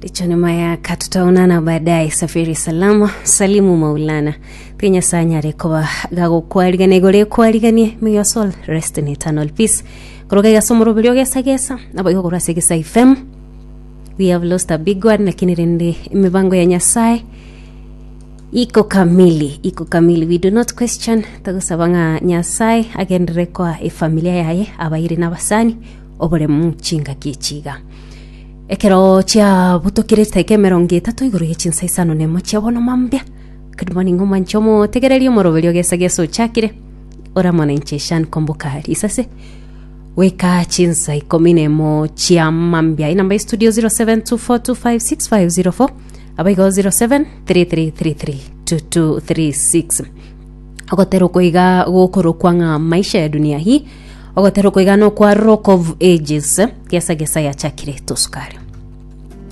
Richoni mayaka tutaonana baadaye. Safiri salama, salimu Maulana. Tiga Nyasaye anyare koba gagokwarigania igoro ekwariganie. May your soul rest in eternal peace. Koroka iga ase omoroberi ogesagesa, nabo igo korwa ase Egesa FM. We have lost a big one, lakini rende emibango ya Nyasaye iko kamili, iko kamili. We do not question. Togosaba ng'a Nyasaye agenderere koa efamilia yaye, abairi na abasani, oboremu chingaki echi iga. Ekero chiabutokire chidakika emerongo etato igoro ye chinsa isano nemo chia bono mambia. Good morning omwanche omotegereri omoroberi ogesagesa ochakire ore amo nainche Shan Kwamboka risase goika chinsa ikomi nemo chia mambia. Enamba ya studio 0724256504 abaigo 0733332236 ogotera okwo iga gokorokwa ng'a maisha ya dunia hii ogotera okwo iga nokwa rock of ages gesa gesa yachakire tosukari.